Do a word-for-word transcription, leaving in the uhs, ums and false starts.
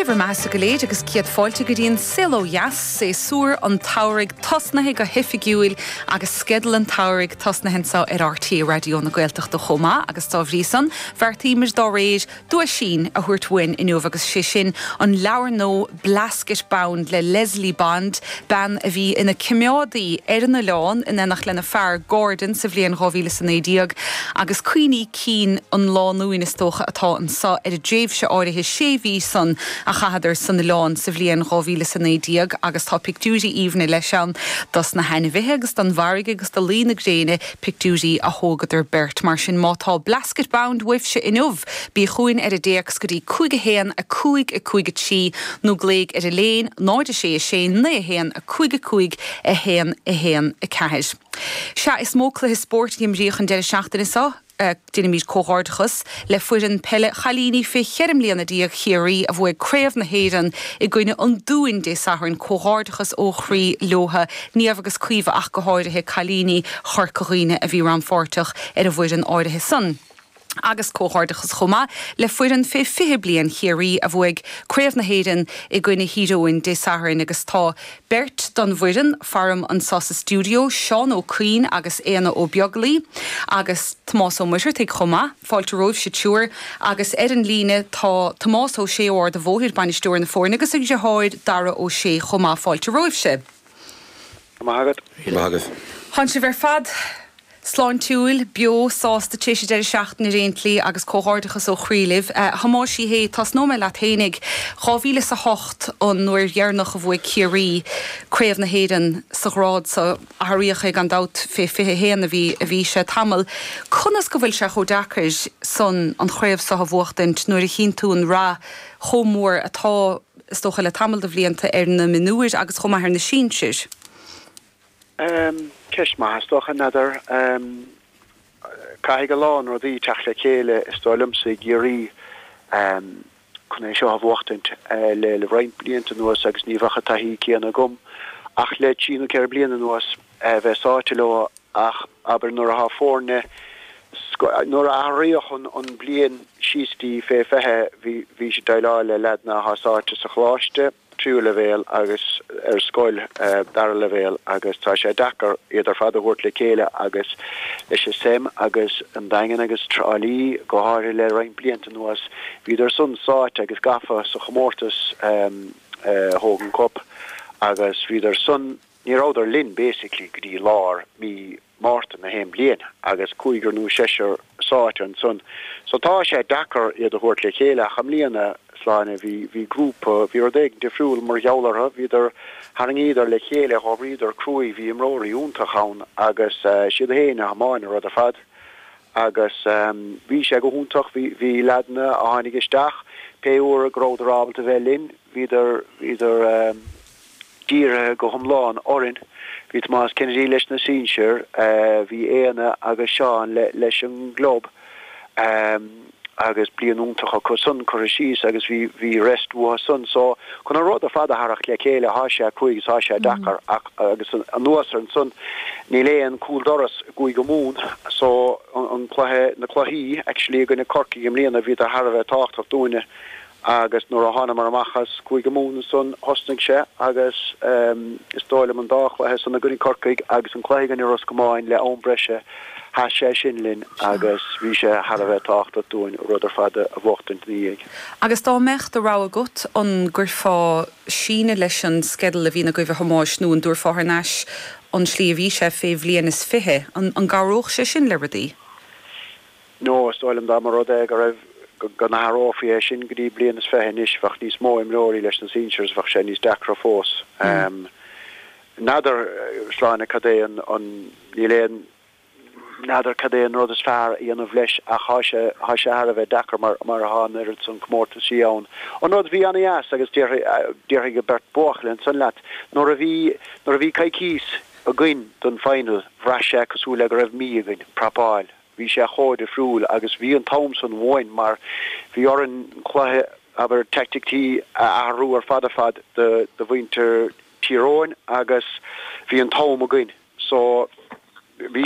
Dia bhur mbeatha go léir agus céad fáilte go dtí an Saol Ó Dheas séasúr an tsamhraidh tosnaithe go hoifigiúil agus sceideal an tsamhraidh tosnaithe anseo ar R T É Raidió na Gaeltachta chomh maith agus dá bhrí san bheartaíomar dá réir duaisín a thabhairt uainn inniu agus sé sin an leabhar nua Blasket Bound le Leslie Bond, bean a bhí ina coimeádaí ar an oileán in éineacht lena fear Gordon sa bhliain dhá mhíle is a naoi déag agus cuimhní cinn an lánúin is dócha atá anseo ar an dtréimhse áirithe sé mhí san a chaitheadar san oileán sa bhliain dhá mhíle is a naoi déag agus tá pictiúirí aoibhne leis ann dos na hainmhithe agus don bhfarraige agus do luí na gréine pictiúirí a thógadar beirt mar sin má tá Blasket Bound uaibhse inniu bí chugainn ar an dtéacs go dtí cúig a haon a cúig a cúig a trí nó glaoigh ar an líne náid a sé a sé naoi a haon a cúig a cúig a haon a haon a ceathair. Sea is mó cluiche spóirt a imríodh an deireadh seachtaine seo Déanaimid comhghairdeachas le foireann peile chailíní fé cheithre bliana déag Chiarraí a bhuaigh Craobh na hÉireann i gcoinne an Dúin Dé Sathairn comhghairdeachas ó chroí leo Niamh agus Caoimhe ach go háirithe cailíní Chorca Dhuibhne a bhí rannpháirteach ar an bhfoireann áirithe san. Agus comhghairdeachas chomh maith le foireann fé fiche bliain Chiarraí a bhuaigh Craobh na hÉireann i gcoinne Thír Eoghain Dé Sathairn agus tá beirt don bhfoireann faram anseo sa stiúideo Seán Ó Cuinn agus Éanna Ó Beaglaoi agus Tomás Ó Muircheartaigh chomh maith fáilte romhaibh sa triúr agus ar an líne tá Tomás Ó Sé Ard a bhóthair bainisteoir na foirne agus a dheartháir Dara Ó Sé chomh maith fáilte romhaibhse. Maith agat. Tá sibh ar fad sláintiúil beo sásta tar éis deireadh seachtaine ar aon tslí agus comhghairdeachas ó chroí libh. Thomáis hé tosnóidh mé leat fhéinig dhá mhíle is a hocht an uair dheireanach a bhuaigh Ciarraí Craobh na hÉireann sa ghrád so athraíodh é gan dabht fé fiche haon a bhí a bhí sé tamall. Conas go bhfuil sé chomh deacair san an chraobh seo a bhuachtaint nuair a chíonn tú an rath chomh mór atá is dócha le tamall de bhlianta ar na mionúir agus chomh maith ar na sinsir. Um, ceist maith is dócha n'fheadar um, caithfidh a lán rudaí teacht le chéile is dóigh liomsa i gCiarraí um, chun é seo a bhuachtaint uh, le le roinnt blianta anuas agus ní bheadh an taithí céanna agam ach le trí nó ceithre bliana anuas uh, bheith sáite leo ach abair nuair atá foirne nuair a athraíodh an an bliain síos dtí fé fiche bhí bhí sé déileáil le leaideanna atá sáite sa choláiste tríú leibhéal agus ar scoil uh, dara leibhéal agus tá sé deacair iad ar fad a thabhairt le chéile agus leis an sem agus an Daingean agus Trá Lí go háirithe le roinnt blianta anuas bhíodar san sáite agus gafa sa chomórtas um, uh, Hogan Cup agus bhíodar san ní rabhadar linn basically go dtí lár mí Márta na haon bliain agus cúigear nó seisear sáite ansan. So tá sé deacair iad a thabhairt le chéile ach i mbliana sláine bhí bhí grúpa bhí rud éigin difriúil mar gheall orthu bhíodar tharraingíodar le chéile dh'oibríodar cruaidh bhí imreoirí iontach ann agus uh, siad féin a thiomáin an rud ar fad agus um, bhí sé go hiontach bhí bhí leaideanna a tháinig isteach pé uair go rabhadar ábalta bheith linn bhíodar bhíodar um, dírithe go hiomlán orainn. Bhí Tomás Kennedy leis na sinsir, uh, bhí Éanna agus Seán le, leis an gclub um, agus bliain iontach acu san chur síos agus bhí bhí rest uathu san so chun an rud ar fad a tharraingt le chéile tá sé cruaidh tá sé deacair ach agus anuas air san níl aon cúl doras Cúige Mumhan so an, an cluiche na cluichí actually i gcoinne Corcaigh i mbliana bhí thar a bheith tábhachtach dúinne agus nuair a thánamar amach as Cúige Mumhan san thosnaigh sé agus um, is dóigh liom an dá chluiche san i gcoinne Corcaigh agus an cluiche i gcoinne Ros Comáin le am breise sheas sé sin linn agus bhí sé thar a bheith tábhachtach dúinn rud ar fad a bhuachtaint ina dhiaidh. Agus dá mbeadh do rogha agat an gcuirfeá síneadh leis an sceideal a bhí agaibh a Thomáis nó an dtabharfá thar n-ais an slí a bhí sé fé bhliain is fiche an, an gcabhródh sé sin le rudaí? No is dóigh liom dá mba rud é go raibh go n-athrófaí é sin go dtí bliain is fiche anois bheadh níos mó imreoirí leis na sinsir bheadh sé níos deacra fós. Um, N'fheadar sláine cad é an, an níl aon n'fheadar cad é an rud is fearr a dhéanamh leis ach tá sé tá sé thar a bheith deacair mar mar atá an oiread san comórtaisí ann. An rud bhí an-deas agus déarfaidh an bheirt buachaill ansan leat nuair a bhí nuair a bhí coicís againn don final bhraith sé cosúil le go raibh mí againn prapáil. Bhí sé chomh difriúil agus bhí an t-am san uainn mar bhí orainn cluiche abair teaicticí a athrú ar fad ar fad do do mhuintir Tír Eoghain agus bhí an t-am againn. So bhí